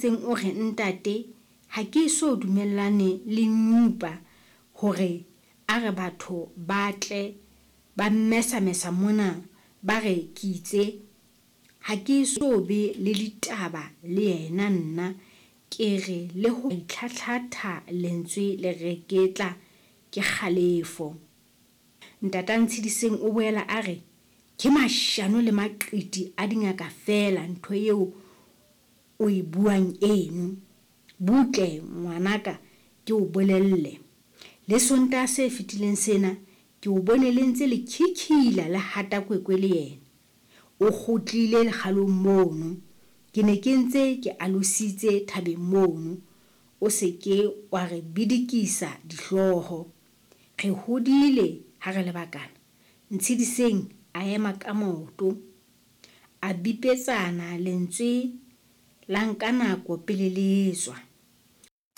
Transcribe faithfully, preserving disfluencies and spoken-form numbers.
O re, Ntate, ha ke eso dumellane le Nyupa hore a re batho ba tle ba mmesamesa mona ba re ke itse ha ke eso be le ditaba le yena nna. Ke re le ho itlhahlatha lentswe le reketla ke kgalefo. Ntata Ntshediseng o boela a re, Ke mashano le maqiti a dingaka feela ntho eo o e buang eno. Butle ngwanaka ke o bolelle. Le Sontaha se fetileng sena ke o bone le ntse le khikhila le hata kwekwe le yena. O kgutlile lekgalong mono. Ke ne ke ntse ke alositse thabeng mono. O se ke wa re bidikisa dihlooho. Re hodile ha re le bakana. Ntshediseng a ema ka maoto. A bipetsana lentswe la nka nako pele le etswa.